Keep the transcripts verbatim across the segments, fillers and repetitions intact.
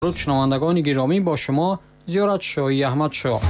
Дуруд шунавандагони гиромӣ, бо шумо Зиёрат Шоҳи Аҳмадшоҳ.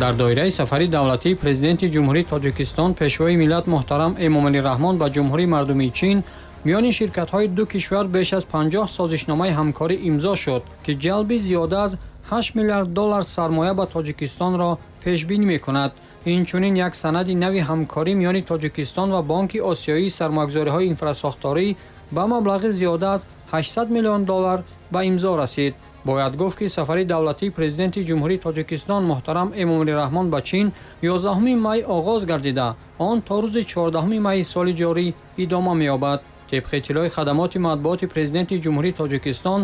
Дар доираи сафари давлатии Президенти Ҷумҳурии Тоҷикистон, Пешвои миллат муҳтарам Эмомалӣ Раҳмон ба Ҷумҳурии Мардумии Чин миёни ширкатҳои ду кишвар беш аз панҷоҳ созишномаи ҳамкорӣ имзо шуд, ки ҷалби зиёда аз ҳашт миллиард доллар сармоя ба Тоҷикистонро пешбинӣ мекунад. Инчунин як санади нави ҳамкорӣ миёни Тоҷикистон ва Бонки Осиёии сармоягузориҳои инфрасохторӣ ба маблағи зиёда аз ҳаштсад миллион доллар ба имзо расид. Бояд гуфт, ки сафари давлатии Президенти Ҷумҳурии Тоҷикистон муҳтарам Эмомалӣ Раҳмон ба Чин ёздаҳуми май оғоз гардида, он то рӯзи чордаҳуми майи соли ҷорӣ идома меёбад. Тибқи иттилои хадамоти матбуоти Президенти Ҷумҳурии Тоҷикистон,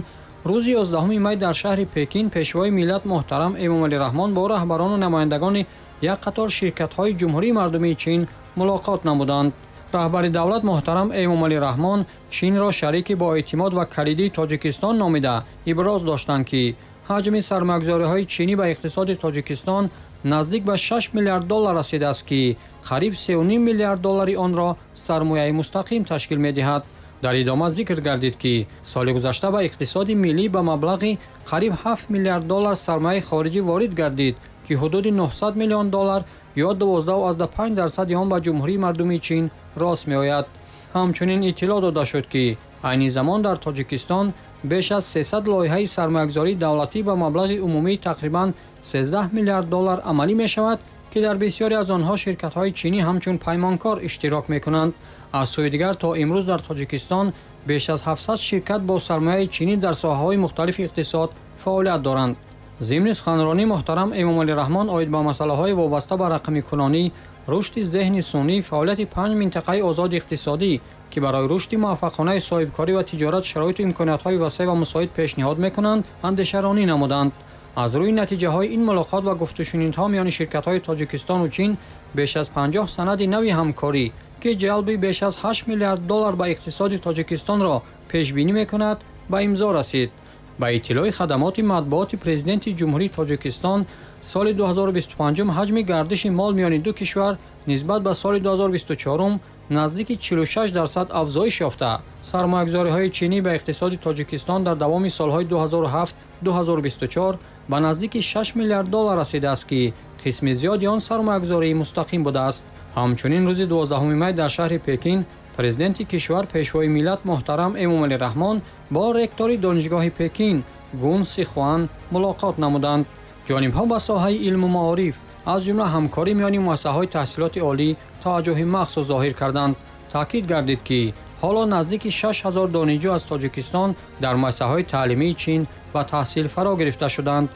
рӯзи ёздаҳуми май дар шаҳри Пекин Пешвои миллат муҳтарам Эмомалӣ Раҳмон бо раҳбарону намояндагони як қатор ширкатҳои Ҷумҳурии Мардумии Чин мулоқот намуданд. Раҳбари давлат муҳтарам Эмомалӣ Раҳмон Чинро шарики боэътимод ва калидии Тоҷикистон номида иброз доштанд, ки ҳаҷми сармоягузориҳои чинӣ ба иқтисоди Тоҷикистон наздик ба шаш миллиард доллар расидааст, ки қариб сеу ним миллиард доллари онро сармояи мустақим ташкил медиҳад. Дар идома зикр гардид, ки соли гузашта ба иқтисоди миллӣ ба маблағи қариб ҳафт миллиард доллар сармояи хориҷӣ ворид гардид, ки ҳудуди нӯҳсад миллион доллар ё дувоздаҳу панҷ дарсади он ба Ҷумҳурии Мардумии Чин рост меояд. Ҳамчунин иттилоъ дода шуд, ки айни замон дар Тоҷикистон беш аз сесад лоиҳаи сармоягузории давлатӣ ба маблағи умумии тақрибан сездаҳ миллиард доллар амалӣ мешавад, ки дар бисёре аз онҳо ширкатҳои чинӣ ҳамчун паймонкор иштирок мекунанд. Аз сӯи дигар, то имрӯз дар Тоҷикистон беш аз ҳафтсад ширкат бо сармояи чинӣ дар соҳаҳои мухталифи иқтисод фаъолият доранд. Зимни суханронӣ муҳтарам Эмомалӣ Раҳмон оид ба масъалаҳои вобаста ба рақамикунонӣ, рушди зеҳни сунъӣ, фаъолияти панҷ минтақаи озоди иқтисодӣ, ки барои рушди муваффақонаи соҳибкорӣ ва тиҷорат шароиту имкониятҳои васеъ ва мусоид пешниҳод мекунанд, андешаронӣ намуданд. Аз рӯи натиҷаҳои ин мулоқот ва гуфтушунидҳо миёни ширкатҳои Тоҷикистону Чин беш аз панҷоҳ санади нави ҳамкорӣ, ки ҷалби беш аз ҳашт миллиард доллар ба иқтисоди Тоҷикистонро пешбинӣ мекунад, ба имзо расид. Ба иттилои хадамоти матбуоти Президенти Ҷумҳурии Тоҷикистон, соли ду ҳазору бисту панҷум ҳаҷми гардиши мол миёни ду кишвар нисбат ба соли ду ҳазору бисту чорум наздики чилу шаш дарсад афзоиш ёфта. Сармоягузориҳои чинӣ ба иқтисоди Тоҷикистон дар давоми солҳои ду ҳазору ҳафт ду ҳазору бисту чор ба наздики шаш миллиард доллар расидааст, ки қисми зиёди он сармоягузории мустақим будааст. Ҳамчунин рӯзи дувоздаҳуми май дар шаҳри Пекин Президенти кишвар Пешвои миллат муҳтарам Эмомалӣ Раҳмон бо ректори Донишгоҳи Пекин Гун Сихуан мулоқот намуданд. Ҷонибҳо ба соҳаи илму маориф, аз ҷумла ҳамкорӣ миёни муассисаҳои таҳсилоти олӣ таваҷҷӯҳи махсус зоҳир карданд. Таъкид гардид, ки ҳоло наздики шаш ҳазор донишҷӯ аз Тоҷикистон дар муассисаҳои таълимии Чин ба таҳсил фаро гирифта шуданд.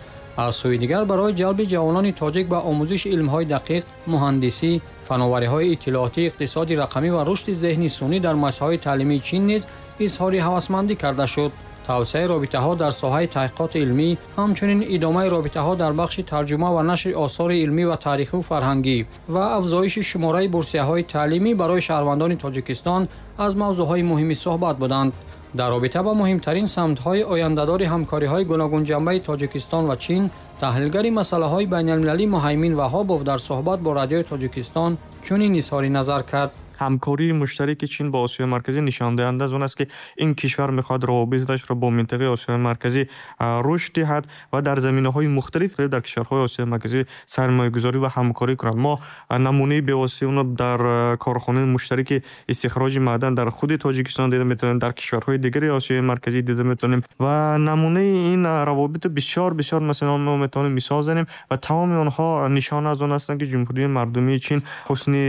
Аз сӯи дигар, барои ҷалби ҷавонони тоҷик ба омӯзиши илмҳои дақиқ, муҳандисӣ, фановариҳои иттилоотӣ, иқтисоди рақамӣ ва рушди зеҳни сунъӣ дар муассисаҳои таълимии Чин низ изҳори ҳавасмандӣ карда шуд. Тавсеаи робитаҳо дар соҳаи таҳқиқоти илмӣ, ҳамчунин идомаи робитаҳо дар бахши тарҷума ва нашри осори илмӣ ва таърихию фарҳангӣ ва афзоиши шумораи бурсияҳои таълимӣ барои шаҳрвандони Тоҷикистон аз мавзӯъҳои муҳими суҳбат буданд. Дар робита ба муҳимтарин самтҳои ояндадори ҳамкориҳои гуногунҷанбаи Тоҷикистон ва Чин, таҳлилгари масъалаҳои байналмилалӣ Муҳаймин Ваҳобов дар суҳбат бо Радиои Тоҷикистон чунин изҳори назар кард. Ҳамкории муштараки Чин бо Осиёи Марказӣ нишондиҳанда аз он аст, ки ин кишвар мехоҳад равобиташро бо минтақаи Осиёи Марказӣ рушд диҳад ва дар заминаҳои мухталиф дар кишварҳои Осиёи Марказӣ сармоягузорӣ ва ҳамкорӣ кунад. Мо намунаи бевоситаи онро дар корхонаи муштараки истихроҷи маъдан дар худи Тоҷикистон дида метавонем, дар кишварҳои дигари Осиёи Марказӣ дида метавонем ва намунаи ин равобитро бисёр бисёр масалан мо метавонем мисол занем ва тамоми онҳо нишона аз он ҳастанд, ки Ҷумҳурии Мардумии Чин ҳусни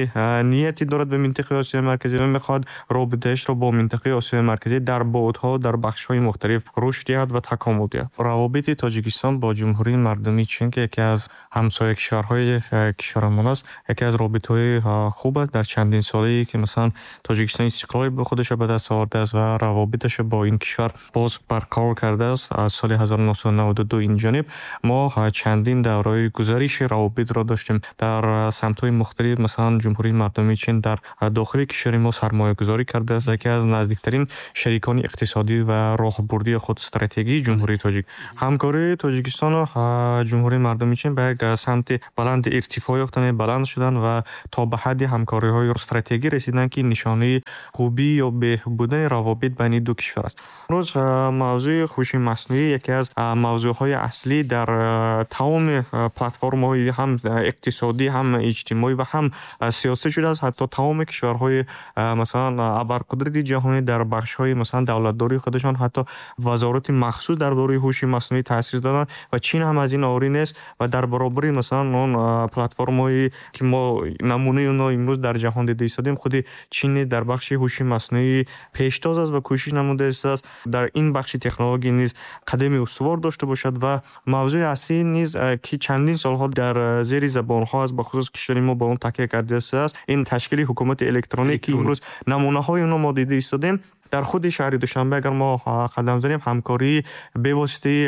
нияте дорад ба минтақаи Осиёи Марказӣ ва мехоҳад робитаашро бо минтақаи Осиёи Марказӣ дар баъдҳо дар бахшҳои мухталиф рушд диҳад ва такомул диҳад. Равобити Тоҷикистон бо Ҷумҳурии Мардумии Чин, ки яке аз ҳамсоя кишварҳои кишварамон аст, яке аз робитаҳои хуб аст дар чандин солае, ки масалан Тоҷикистон истиқлоли худашро ба даст овардааст ва равобиташро бо ин кишвар боз барқарор кардааст. Аз соли ҳазору нӯҳсаду наваду ду ин ҷониб мо чандин давраҳои гузариши равобитро доштем дар самтҳои мухталиф. Масалан, Ҷумҳурии Мардумии Чин дар дохили кишвари мо сармоягузорӣ кардааст, яке аз наздиктарин шарикони иқтисодӣ ва роҳбурдии худ стратегии Ҷумҳурии Тоҷик. Ҳамкории Тоҷикистону Ҷумҳурии Мардумии Чин ба як самти баланди иртифоъ ёфтанд, баланд шуданд ва то ба ҳадди ҳамкориҳои стратегӣ расиданд, ки нишонаи хубӣ ё беҳбудани равобит байни ду кишвар аст. Имрӯз мавзӯи ҳуши маснуӣ яке аз мавзӯъҳои аслӣ дар тамоми платформаҳои ҳам иқтисодӣ, ҳам иҷтимоӣ ва ҳам сиёсӣ шудааст. Ҳатто тамоми кишварҳои масалан абарқудрати ҷаҳонӣ дар бахшҳои масалан давлатдории худашон ҳатто вазорати махсус дар бораи ҳуши маснуӣ таъсис доданд ва Чин ҳам аз ин орӣ нест ва дар баробари масалан он платформаҳое ки мо намунаи онҳо имрӯз дар ҷаҳон дида истодем, худи Чин дар бахши ҳуши маснуӣ пештоз аст ва кӯшиш намуда истодааст дар ин бахши технология низ қадами устувор дошта бошад. Ва мавзӯи аслӣ низ ки чандин солҳо дар зери забонҳо аст, бахусус кишвари мо ба он такя карда истодааст, ин ташкили ҳукумати электронӣ ки имрӯз намунаҳои онро мо дида истодем. Дар худи шаҳри Душанбе агар мо қадам занем, ҳамкории бевоситаи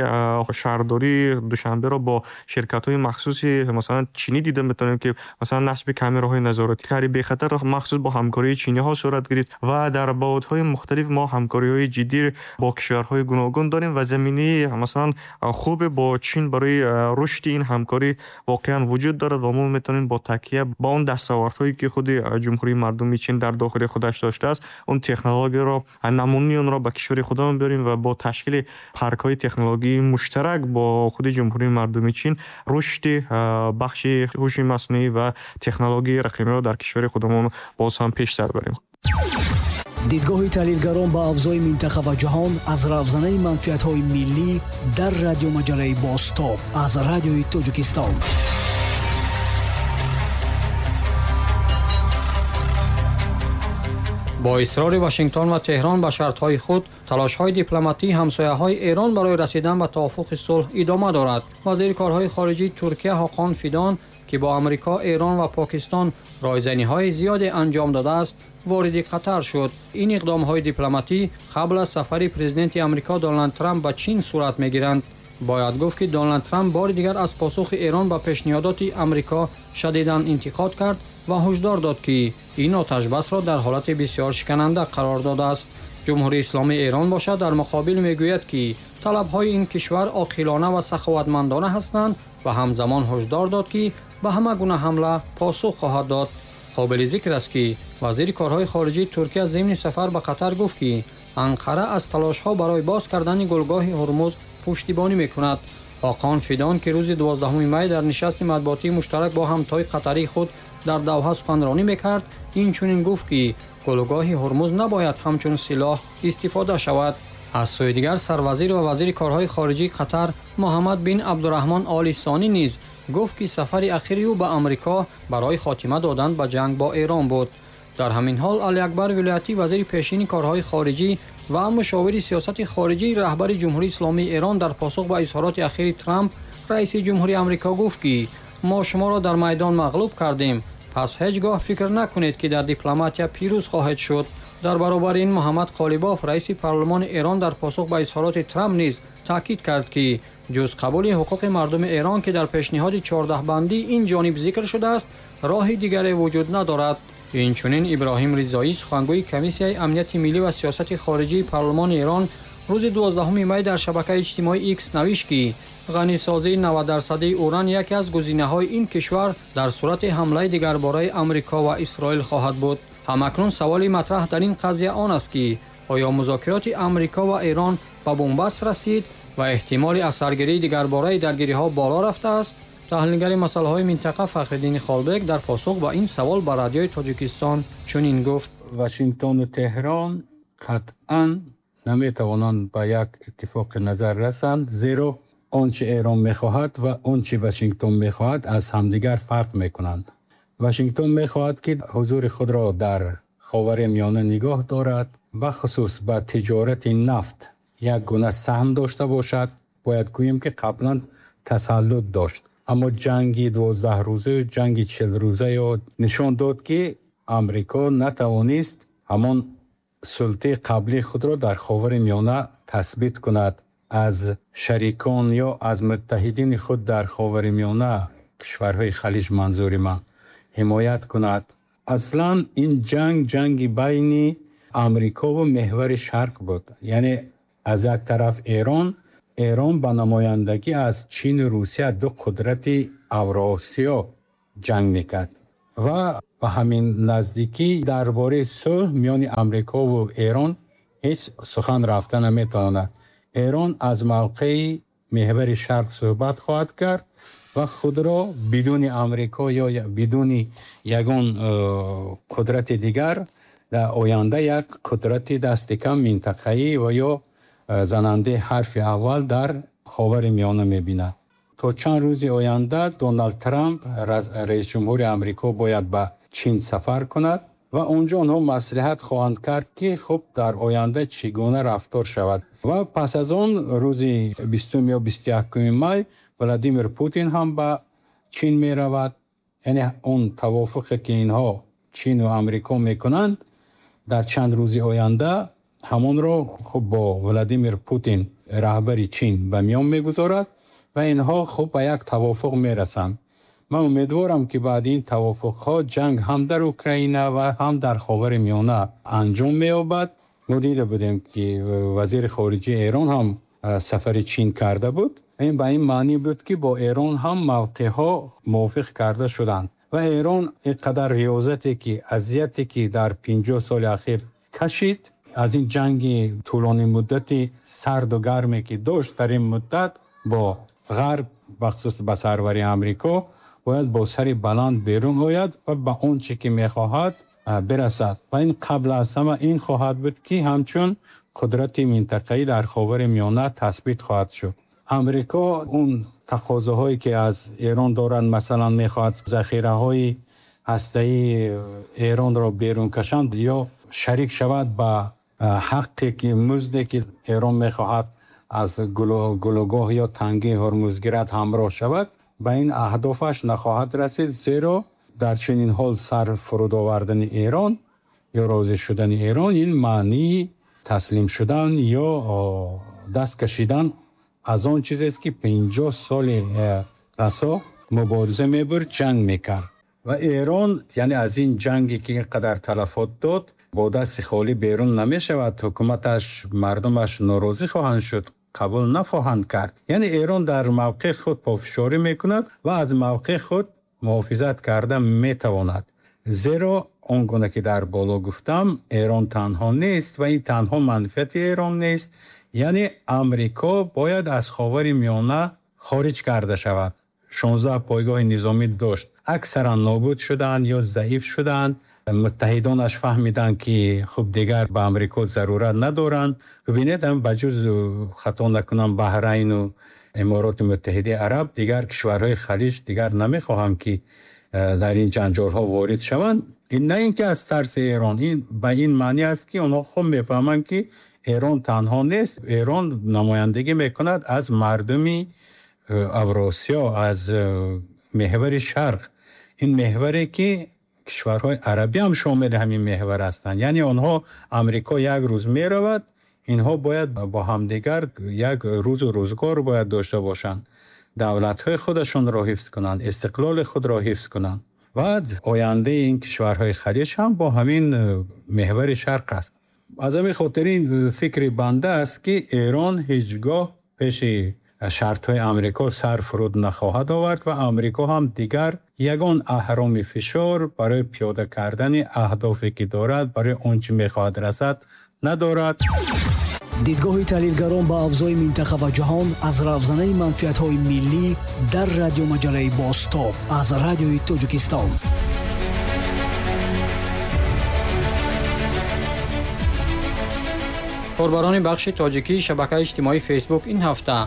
шаҳрдории Душанберо бо ширкатҳои махсуси масалан чинӣ дида метавонем, ки масалан насби камераҳои назоратӣ шаҳри бехатар махсус бо ҳамкории чиниҳо сурат гирифт ва дар баъдҳои мухталиф мо ҳамкориҳои ҷиддӣ бо кишварҳои гуногун дорем ва заминаи масалан хубе бо Чин барои рушди ин ҳамкорӣ воқеан вуҷуд дорад ва мо метавонем бо такя ба он дастовардҳое ки худи Ҷумҳурии Мардумии Чин дар дохили худаш доштааст, он технологияро, намунаи онро ба кишвари худамон биёрем ва бо ташкили паркҳои технологии муштарак бо худи Ҷумҳурии Мардумии Чин рушди бахши ҳуши маснуӣ ва технологияи рақамиро дар кишвари худамон боз ҳам пештар барем. Дидгоҳи таҳлилгарон ба авзои минтақа ва ҷаҳон аз равзанаи манфиатҳои миллӣ дар радиомаҷалаи Бозтоб аз Радиои Тоҷикистон. Бо исрори Вашингтон ва Теҳрон ба шартҳои худ, талошҳои дипломатии ҳамсояҳои Эрон барои расидан ба тавофуқи сулҳ идома дорад. Вазири корҳои хориҷии Туркия Ҳоқон Фидон, ки бо Амрико, Эрон ва Покистон ройзаниҳои зиёде анҷом додааст, вориди Қатар шуд. Ин иқдомҳои дипломатӣ қабл аз сафари президенти Амрико Доналд Трамп ба Чин сурат мегиранд. Бояд гуфт, ки Доналд Трамп бори дигар аз посухи Эрон ба пешниҳодоти Амрико шадидан интиқод кард ва ҳушдор дод, ки ин оташбасро дар ҳолати бисёр шикананда қарор додааст. Ҷумҳурии Исломии Эрон бошад дар муқобил мегӯяд, ки талабҳои ин кишвар оқилона ва саховатмандона ҳастанд ва ҳамзамон ҳушдор дод, ки ба ҳама гуна ҳамла посух хоҳад дод. Қобили зикр аст, ки вазири корҳои хориҷии Туркия зимни сафар ба Қатар гуфт, ки Анқара аз талошҳо барои боз кардани гулгоҳи Ҳурмуз пуштибонӣ мекунад. Ҳоқон Фидон, ки рӯзи дувоздаҳуми май дар нишасти матбуотии муштарак бо ҳамтои қатарии худ дар Давҳа суханронӣ мекард, инчунин гуфт, ки гулгоҳи Ҳурмуз набояд ҳамчун силоҳ истифода шавад. Аз сӯи дигар, сарвазир ва вазири корҳои хориҷии Қатар Муҳаммад бин Абдураҳмон Оли Сонӣ низ гуфт, ки сафари ахири ӯ ба Амрико барои хотима додан ба ҷанг бо Эрон буд. Дар ҳамин ҳол Али Акбар Вилоятӣ, вазири пешини корҳои хориҷӣ ва мушовири сиёсати хориҷии раҳбари Ҷумҳурии Исломии Эрон, дар посух ба изҳороти ахири Трамп, раиси ҷумҳури Амрико, гуфт, ки мо шуморо дар майдон мағлуб кардем, пас ҳеҷ гоҳ фикр накунед, ки дар дипломатия пирӯз хоҳед шуд. Дар баробари ин, Муҳаммад Қолибоф, раиси парлумони Эрон, дар посух ба изҳороти Трамп низ таъкид кард, ки ҷуз қабули ҳуқуқи мардуми Эрон, ки дар пешниҳоди чордаҳбандӣ ин ҷониб зикр шудааст, роҳи дигаре вуҷуд надорад. Инчунин Иброҳим Ризоӣ, сухангӯи Комиссияи амнияти миллӣ ва сиёсати хориҷии парлумони Эрон, рӯзи дувоздаҳуми май дар шабакаи иҷтимоии Икс навишт, ки ғанисозии навад дарсадии уран яке аз гузинаҳои ин кишвар дар сурати ҳамлаи дигарбораи Амрико ва Исроил хоҳад буд. Ҳамакнун саволи матраҳ дар ин қазия он аст, ки оё музокироти Амрико ва Эрон ба бунбаст расид ва эҳтимоли асаргирии дигарбораи даргириҳо боло рафтааст? Таҳлилгари масъалаҳои минтақа Фахриддини Холбек дар посух ба ин савол ба Радиои Тоҷикистон чунин гуфт: Вашингтону Теҳрон қатъан наметавонанд ба як иттифоқи назар расанд, зеро он чи Эрон мехоҳад ва он чи Вашингтон мехоҳад аз ҳамдигар фарқ мекунанд. Вашингтон мехоҳад, ки ҳузури худро дар Ховари Миёна нигоҳ дорад, бахусус ба тиҷорати нафт як гуна саҳм дошта бошад. Бояд гӯем, ки қаблан тасаллут дошт, аммо ҷанги дувоздаҳрӯзаю ҷанги чилрӯзаё нишон дод, ки Амрико натавонист ҳамон султаи қаблии худро дар Ховари Миёна тасбит кунад. Аз шарикон ё аз муттаҳидини худ дар Ховари Миёна, кишварҳои Халиҷ манзури ман, ҳимоят кунад. Аслан ин ҷанг ҷанги байни Амрико ва меҳвари Шарқ буд. Яъне аз як тараф Эрон, Эрон ба намояндагӣ аз Чин ва Русия, ду қудрати Авроосиё ҷанг мекард. Ва ба ҳамин наздикӣ дар бораи сулҳ миёни Амрико ва Эрон ҳеҷ сухан рафта наметавонад. Эрон аз мавқеи меҳвари Шарқ суҳбат хоҳад кард ва худро бидуни Амрико ё бидуни ягон қудрати дигар дар оянда як қудрати дасти кам минтақаӣ ва ё занандаи ҳарфи аввал дар Ховари Миёна мебинад. То чанд рӯзи оянда Доналд Трамп, раис ҷумҳури Амрико, бояд ба Чин сафар кунад ва онҷо онҳо маслиҳат хоҳанд кард, ки хуб дар оянда чӣ гуна рафтор шавад. Ва пас аз он рӯзи бистум ё бисту якуми май Владимир Путин ҳам ба Чин меравад. Яъне он тавофуқе ки инҳо Чин ва Амрико мекунанд дар чанд рӯзи оянда, ҳамонро хуб бо Владимир Путин, раҳбари Чин, ба миён мегузорад ва инҳо хуб ба як тавофуқ мерасанд. Ман умедворам, ки баъди ин тавофуқҳо ҷанг ҳам дар Украина ва ҳам дар Ховари Миёна анҷом меёбад. Мо дида будем, ки вазири хориҷаи Эрон ҳам сафари Чин карда буд. Ин ба ин маънӣ буд, ки бо Эрон ҳам мавқеъҳо мувофиқ карда шуданд ва Эрон ин қадар риёзате ки азияте ки дар панҷоҳ соли ахир кашид, аз ин ҷанги тӯлонӣ муддати сарду гарме ки дошт дар ин муддат бо Ғарб, бахусус ба сарвари Амрико, бояд бо сари баланд берун ояд ва ба он чӣ ки мехоҳад бирасад. Ва ин қабл аз ҳама ин хоҳад буд, ки ҳамчун қудрати минтақаӣ дар Ховари Миёна тасбит хоҳад шуд. Амрико он тақозоҳое ки аз Эрон доранд, масалан мехоҳад захираҳои ҳастаии Эронро берун кашанд ё шарик шавад ба ҳаққе ки музде ки Эрон мехоҳад аз гулӯгоҳ ё тангии Ҳурмуз гирад ҳамроҳ шавад, ба ин аҳдофаш нахоҳад расид, зеро дар чунин ҳол сар фуруд овардани Эрон ё розӣ шудани Эрон ин маънии таслим шудан ё даст кашидан аз он чизест, ки панҷоҳ соли расо мубориза мебурд, ҷанг мекард. Ва Эрон яъне аз ин ҷанге ки ин қадар талафот дод бо дасти холӣ берун намешавад. Ҳукуматаш, мардумаш норозӣ хоҳанд шуд, қабул нахоҳанд кард. Яъне Эрон дар мавқеи худ пофишорӣ мекунад ва аз мавқеи худ муҳофизат карда метавонад. Зеро он гуна ки дар боло гуфтам, Эрон танҳо нест ва ин танҳо манфиати Эрон нест. Яъне Амрико бояд аз Ховари Миёна хориҷ карда шавад. шонздаҳ пойгоҳи низомӣ дошт, аксаран нобуд шуданд ё заиф шуданд. Муттаҳидонаш фаҳмиданд, ки хуб дигар ба Амрико зарурат надоранд. Бубинед, ҳам ба ҷуз, хато накунам, Баҳрайну Амороти Муттаҳидаи Араб, дигар кишварҳои Халиҷ дигар намехоҳанд, ки дар ин ҷанҷолҳо ворид шаванд. Ин на ин ки аз тарси Эрон, ин ба ин маънӣ аст, ки онҳо хуб мефаҳманд, ки Эрон танҳо нест. Эрон намояндагӣ мекунад аз мардуми Авросиё, аз меҳвари Шарқ. Ин меҳваре ки кишварҳои арабӣ ҳам шомили ҳамин меҳвар ҳастанд. Яъне онҳо Амрико як рӯз меравад, инҳо бояд бо ҳамдигар як рӯзу рӯзгор бояд дошта бошанд, давлатҳои худашонро ҳифз кунанд, истиқлоли худро ҳифз кунанд. Ва ояндаи ин кишварҳои Халиҷ ҳам бо ҳамин меҳвари Шарқ аст. Аз ҳамин хотир ин фикри банда аст, ки Эрон ҳеҷгоҳ пеши шартҳои Амрико сар фуруд нахоҳад овард ва Амрико ҳам дигар ягон аҳроми фишор барои пиёда кардани аҳдофе ки дорад, барои он чӣ мехоҳад расад, надорад. Дидгоҳи таҳлилгарон ба авзои минтақа ва ҷаҳон аз равзанаи манфиатҳои миллӣ дар радиомаҷалаи Бозтоб аз Радиои Тоҷикистон. Корбарони бахши тоҷикии шабакаи иҷтимоии Фейсбук ин ҳафта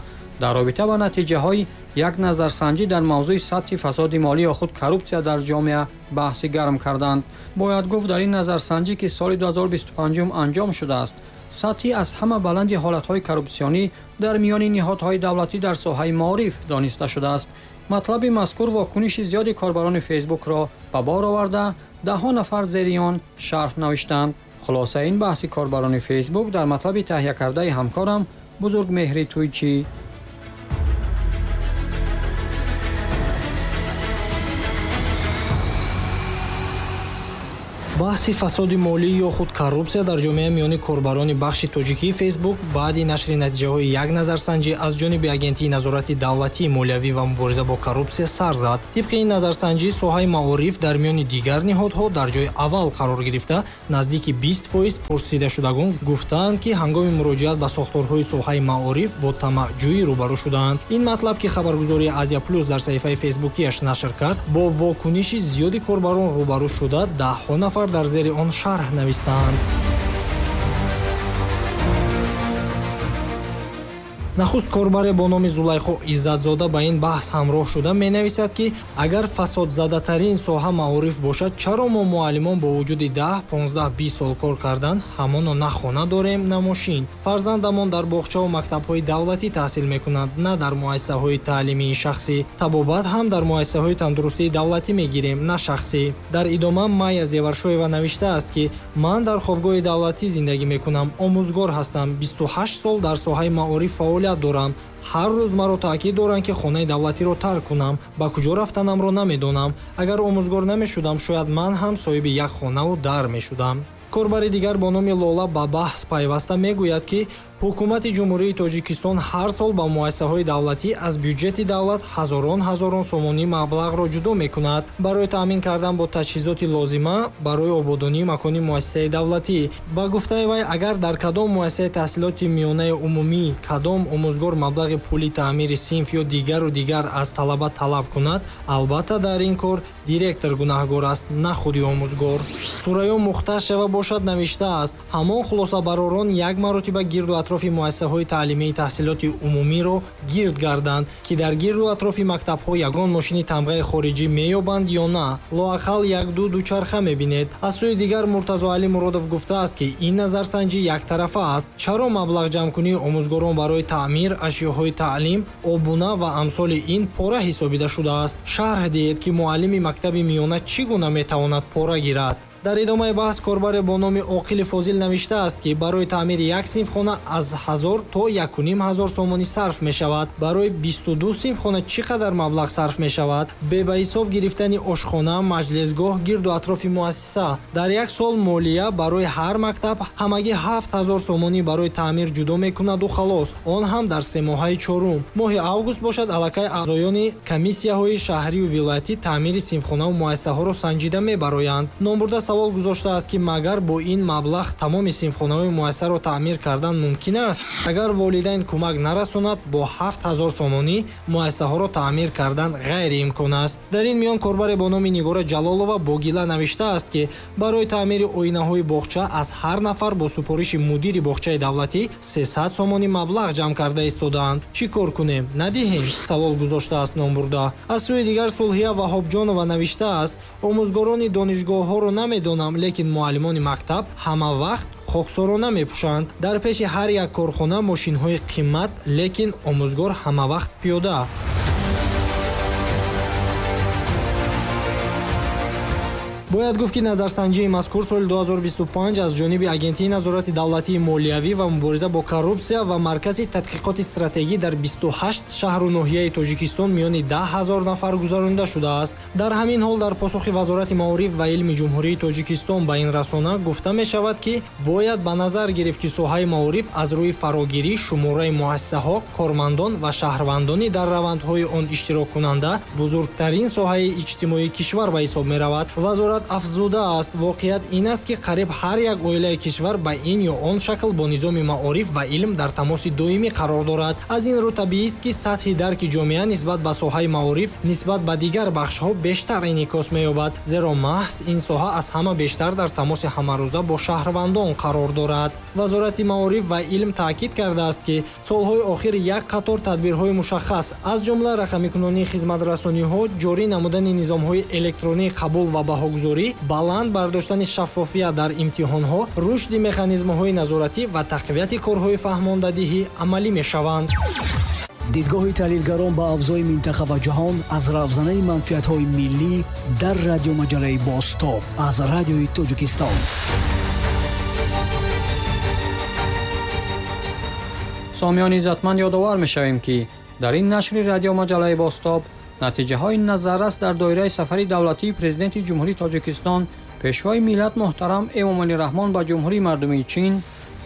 дар робита ба натиҷаҳои як назарсанҷӣ дар мавзӯи сатҳи фасоди молӣ ё худ коррупсия дар ҷомеа баҳси гарм карданд. Бояд гуфт, дар ин назарсанҷӣ, ки соли ду ҳазору бисту панҷум анҷом шудааст, сатҳи аз ҳама баланди ҳолатҳои коррупсионӣ дар миёни ниҳодҳои давлатӣ дар соҳаи маориф дониста шудааст. Матлаби мазкур вокуниши зиёди корбарони Фейсбукро ба бор оварда, даҳҳо нафар зери он шарҳ навиштанд. Хулосаи ин баҳси корбарони Фейсбук дар матлаби таҳия кардаи ҳамкорам Бузургмеҳри Туйчӣ. Баҳси фасоди молӣ ё худ коррупсия дар ҷомеа миёни корбарони бахши тоҷикии Фейсбук баъди нашри натиҷаҳои як назарсанҷӣ аз ҷониби Агентии назорати давлатии молиявӣ ва мубориза бо коррупсия сар зад. Тибқи ин назарсанҷӣ соҳаи маориф дар миёни дигар ниҳодҳо дар ҷои аввал қарор гирифта, наздики бист фоиз пурсидашудагон гуфтаанд, ки ҳангоми муроҷиат ба сохторҳои соҳаи маориф бо тамаъҷӯӣ рӯбарӯ шудаанд. Ин матлаб, ки хабаргузории Азия Плюс дар саҳифаи фейсбукияш нашр кард, бо вокуниши зиёди корбарон рӯбарӯ шуда, даҳҳо нафар дар зери он шарҳ навистанд. Нахуст корбаре бо номи Зулайхо Иззатзода ба ин баҳс ҳамроҳ шуда менависад, ки агар фасодзадатарин соҳа маориф бошад, чаро мо муаллимон бо вуҷуди даҳ, понздаҳ, бист сол кор кардан ҳамоно на хона дорем, на мошин. Фарзандамон дар боғчаву мактабҳои давлатӣ таҳсил мекунанд, на дар муассисаҳои таълимии шахсӣ. Табобат ҳам дар муассисаҳои тандурустии давлатӣ мегирем, на шахсӣ. Дар идома Майя Зеваршоева навиштааст, ки ман дар хобгоҳи давлатӣ зиндагӣ мекунам, омӯзгор ҳастам, бисту ҳашт сол дар соҳаи маориф фаъолият дорам. Ҳар рӯз маро таъкид доранд, ки хонаи давлатиро тарк кунам. Ба куҷо рафтанамро намедонам. Агар омӯзгор намешудам, шояд ман ҳам соҳиби як хонаву дар мешудам. Корбари дигар бо номи Лола ба баҳс пайваста мегӯяд, ки ҳукумати Ҷумҳурии Тоҷикистон ҳар сол ба муассисаҳои давлатӣ аз бюҷети давлат ҳазорон ҳазорон сомонӣ маблағро ҷудо мекунад барои таъмин кардан бо таҷҳизоти лозима барои ободонии макони муассисаи давлатӣ. Ба гуфтаи вай, агар дар кадом муассисаи таҳсилоти миёнаи умумӣ кадом омӯзгор маблағи пули таъмири синф ё дигару дигар аз талаба талаб кунад, албатта дар ин кор директор гунаҳгор аст, на худи омӯзгор. Сурайё Мухташева бошад навиштааст, ҳамон хулосабаророн як маротиба гирду атрофи муассисаҳои таълимии таҳсилоти умумиро гирд гарданд, ки дар гирду атрофи мактабҳо ягон мошини тамғаи хориҷӣ меёбанд ё на, лоақал як-ду дучарха мебинед. Аз сӯи дигар Муртазоалӣ Муродов гуфтааст, ки ин назарсанҷӣ яктарафа аст. Чаро маблағ ҷамъкунии омӯзгорон барои таъмир, ашёҳои таълим, обуна ва амсоли ин пора ҳисобида шудааст? Шарҳ диҳед, ки муаллими мактаби миёна чӣ гуна метавонад пора гирад. Дар идомаи баҳс корбаре бо номи Оқили Фозил навиштааст, ки барои таъмири як синфхона аз ҳазор то яку ним ҳазор сомонӣ сарф мешавад. Барои бисту ду синфхона чӣ қадар маблағ сарф мешавад? Бе ба ҳисоб гирифтани ошхона, маҷлисгоҳ, гирду атрофи муассиса. Дар як сол молия барои ҳар мактаб ҳамагӣ ҳафт ҳазор сомонӣ барои таъмир ҷудо мекунаду халос, он ҳам дар семоҳаи чорум. Моҳи август бошад, аллакай аъзоёни комиссияҳои шаҳрию вилоятӣ таъмири синфхонаву муассисаҳоро санҷида мебароянд. Номбурда савол гузоштааст, ки магар бо ин маблағ тамоми синфхонаҳои муассисаро таъмир кардан мумкин аст? Агар волидайн кӯмак нарасонад, бо ҳафт ҳазор сомонӣ муассисаҳоро таъмир кардан ғайриимкон аст. Дар ин миён корбаре бо номи Нигора Ҷалолова бо гила навиштааст, ки барои таъмири оинаҳои боғча аз ҳар нафар бо супориши мудири боғчаи давлатӣ сесад сомонӣ маблағ ҷамъ карда истодаанд. Чӣ кор кунем? Надиҳем? Савол гузоштааст номбурда. Аз сӯи дигар Сулҳия Ваҳобҷонова навиштааст, омӯзгорони донишгоҳҳоро намедонам, лекин муаллимони мактаб ҳама вақт хоксорона мепӯшанд. Дар пеши ҳар як корхона мошинҳои қимат, лекин омӯзгор ҳама вақт пиёда. Бояд гуфт, ки назарсанҷии мазкур соли ду ҳазору бисту панҷ аз ҷониби Агентии назорати давлатии молиявӣ ва мубориза бо коррупсия ва Маркази тадқиқоти стратегӣ дар бисту ҳашт шаҳру ноҳияи Тоҷикистон миёни даҳ ҳазор нафар гузаронида шудааст. Дар ҳамин ҳол дар посухи Вазорати маориф ва илми Ҷумҳурии Тоҷикистон ба ин расона гуфта мешавад, ки бояд ба назар гирифт, ки соҳаи маориф аз рӯи фарогирӣ, шумораи муассисаҳо, кормандон ва шаҳрвандони дар равандҳои он иштироккунанда бузургтарин соҳаи иҷтимоии кишвар ба ҳисоб меравад. Вазорат афзудааст, воқеият ин аст, ки қариб ҳар як оилаи кишвар ба ин ё он шакл бо низоми маориф ва илм дар тамоси доимӣ қарор дорад. Аз ин рӯ табиист, ки сатҳи дарки ҷомеа нисбат ба соҳаи маориф нисбат ба дигар бахшҳо бештар инъикос меёбад, зеро маҳз ин соҳа аз ҳама бештар дар тамоси ҳамарӯза бо шаҳрвандон қарор дорад. Вазорати маориф ва илм таъкид кардааст, ки солҳои охир як қатор тадбирҳои мушаххас, аз ҷумла рақамикунонии хизматрасониҳо, ҷорӣ намудани низомҳои электронии қабул ва баҳогузорӣ, баланд бардоштани шаффофият дар имтиҳонҳо, рушди механизмҳои назоратӣ ва тақвияти корҳои фаҳмондадиҳӣ амалӣ мешаванд. Дидгоҳи таҳлилгарон ба авзои минтақа ва ҷаҳон аз равзанаи манфиатҳои миллӣ дар радиомаҷалаи Бозтоб аз Радиои Тоҷикистон. Сомиёни иззатманд, ёдовар мешавем, ки дар ин нашри радиомаҷалаи Бозтоб натиҷаҳои назаррас дар доираи сафари давлатии Президенти Ҷумҳурии Тоҷикистон Пешвои миллат муҳтарам Эмомалӣ Раҳмон ба Ҷумҳурии Мардумии Чин,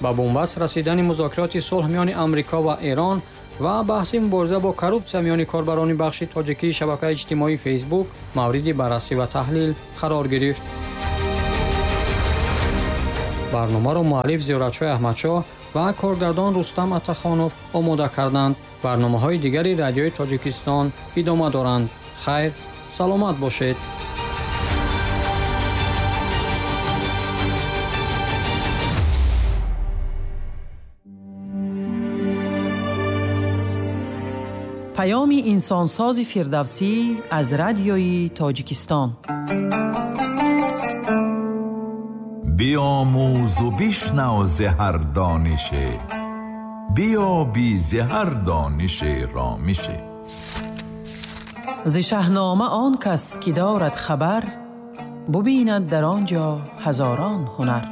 ба бунбаст расидани музокироти сулҳ миёни Амрико ва Эрон ва баҳси мубориза бо коррупсия миёни корбарони бахши тоҷикии шабакаи иҷтимоии Фейсбук мавриди баррасӣ ва таҳлил қарор гирифт. Барномаро муаллиф Зиёратшоҳ Аҳмадшоҳ ва коргардон Рустам Атахонов омода карданд. Барномаҳои дигари Радиои Тоҷикистон идома доранд. Хайр, саломат бошед. Паёми инсонсози Фирдавсӣ аз Радиои Тоҷикистон. Биомӯз у бишнав зи ҳар донише, биёбӣ зи ҳар донише ромише. Зи Шаҳнома он кас ки дорад хабар, бубинад дар он ҷо ҳазорон ҳунар.